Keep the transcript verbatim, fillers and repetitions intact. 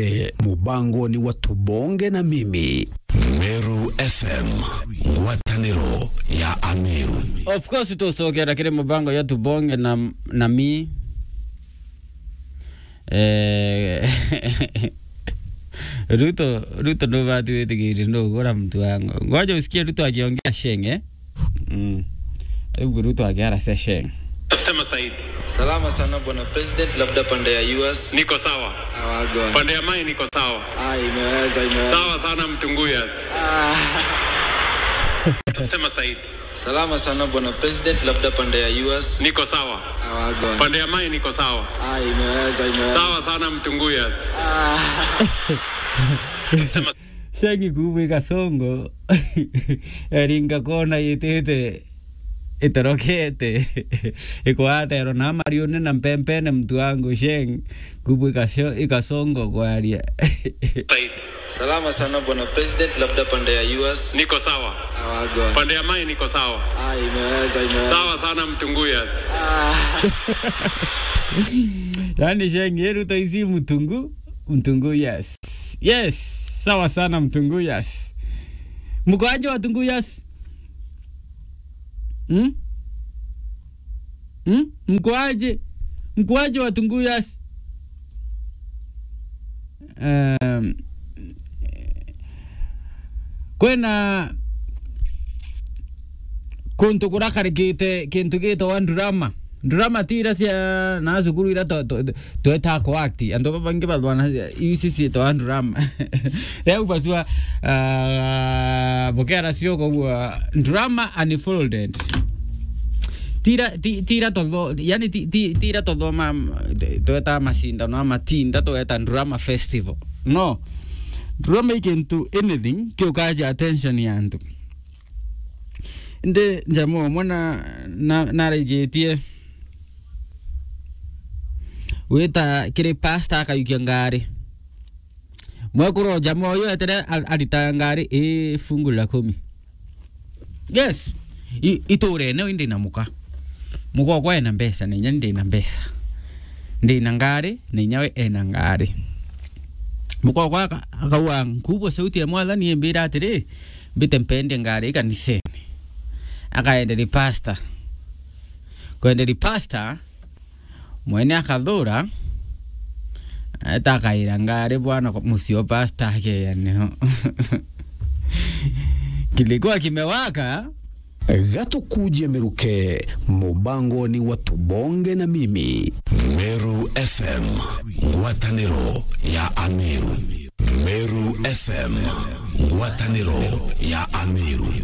Eh, mubangoni wa Tubonge na Mimi. Meru F M, ngwataniro ya Ameru. Of course, tucokera kiri mubango ya Tubonge na, na Mi. Eh, Ruto, Ruto ndubati witigiri ndugura mtu wangu. Ngoja usikie Ruto akiongea sheng, eh? Mm. Hebu Ruto akiara se sheng. Sema Said. Salama sana bwana president, labda pande ya U S. Niko sawa. Awagwa. Pande ya Mai niko sawa. Ah, imeweza, imeweza. Sawa sana Mtunguyas. Ah. Sema Said. Salama sana bwana president, labda pande ya U S. Niko sawa. Awagwa. Pande ya Mai niko sawa. Ah, imeweza, imeweza. Sawa sana Mtunguyas. Ah. Sema Sheng kubwa ikasongo. Eringa kona yitite itorokete. Ikwatero na mariune na mpempene mtu wangu sheng. Kubwa ikasho-, ikasongo kwaria. Said. Salama sana bwana president, labda pande ya U S. Niko sawa. Awagwa. Pande ya Mai niko sawa. Ah, imeweza, imeweza. Sawa sana Mtunguyas. Ah. Yani sheng yeru taisi Mtungu, Mtunguyas. Yes, sawa sana Mtunguyas. Mkoaje Watunguyas? Hmm? Hmm? Mkoaje? Mkoaje Watunguyas? Um, kwena kuntu kurakarikite kintu gitagwa drama. Drama ti ira cia na cukuru ira to, to, tweta ku act. Antu babangi bathwana iu ciitagwa drama. Riu bacua, ah, bukera cio kogua drama unfolded. Tira, ti-, tira totho-, yani ti-, ti-, tira tothoma, mm, tweta macindano ama tinda tweta drama festival. No. Drama i kintu anything kiukaja attention ya antu. Indi njamaa umwe na, na, naraigĩtie wita kiri pastor akayukia ngari. Mwekuru o jamaa uyu etere a-, arita ngari i fungu la kumi. Yes. I-, iturene indi na muka. Muka okwa ena mbeca, na inya ndi na mbeca. Ndi na ngari, na inya we ena ngari. Muka okwa aka-, akauga, "Nkubwa sauti ya Mwathani imbira atiri, mbite mpende ngari kanisene." Akaenderi pastor. Kwenderi pastor, mwene akathura, eta akaira ngari bwana kwa mucio pastor akeya niho. Kilikuwa kimewaka. Gatukuje miruke, mubangoni wa Tubonge na Mimi. Meru F M, ngwataniro ya Ameru. Meru F M, ngwataniro ya Ameru.